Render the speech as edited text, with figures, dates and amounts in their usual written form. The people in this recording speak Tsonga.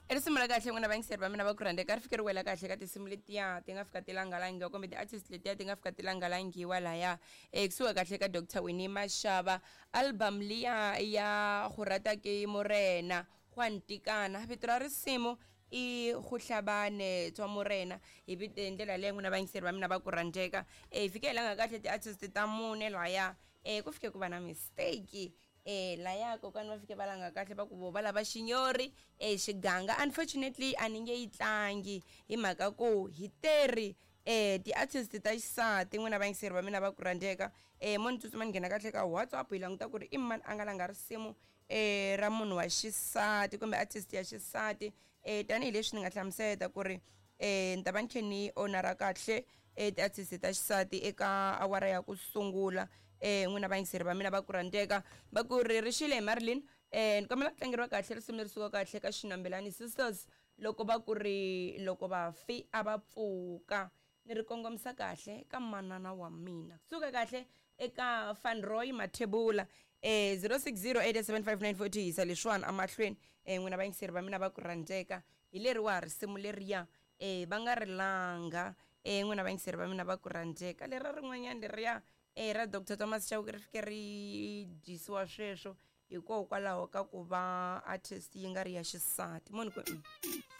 I risimu ra kahle n'wina vayingiseri va mina va ku rhandzeka ri fike ri wela kahle ka tinsimu letiya ti nga fika ti langalangiwa kumbe ti-artist letiya ti nga fika ti langalangiwa laya ekusuhi kahle ka Dr Winnie Mashava album liya ya go rata ke morena go a ntikana vito ra risimu i go hlabane tswa morena hi vite hi ndlela leyi n'wina vayingiseri va mina va ku rhandzeka hi fike hi langa kahle ti-artist ta mune laya ku fike ku va na mistake E laya kokwani va fike va langa kahle va ku vo va lava xinyori e xiganga unfortunately a ni nge yi tlangi hi mhaka ku hi teri e ti-artist ta xisati n'wina vayingiseri va mina va ku rhandzeka e mo ni tsutsuma ni nghena kahle ka WhatsApp hi languta ku ri i mani a nga langa risimu e ra munhu wa xisati kumbe artist ya xisati e tanihileswi ni nga hlamuseta ku ri e ni ta va ni khe ni onara kahle e ti-artist ta xisati eka awara ya ku sungula e n'wina vayingiseri va mina va ku rhandzeka va ku ri ri xile hi Marilyn e ni kombela ku tlangeriwa kahle risimu leri suka kahle ka Xinambelani Sisters loko va ku ri loko vafi a va pfuka ni ri kongomisa kahle ka manana wa mina suka kahle eka Fanroy Mathebula e 06087594 yisa leswiwani emahlweni e n'wina vayingiseri va mina va ku rhandzeka hi leriwa risimu leriya E, va nga ri langa. E, n'wina vayingiseri va mina va ku rhandzeka. Lera rin'wanyana leriya, e, ra Doctor Thomas Chauke ri fike ri dyisiwa sweswo hikokwalaho ka ku va artist yi nga ri ya xisati. Mo ni ku, mm.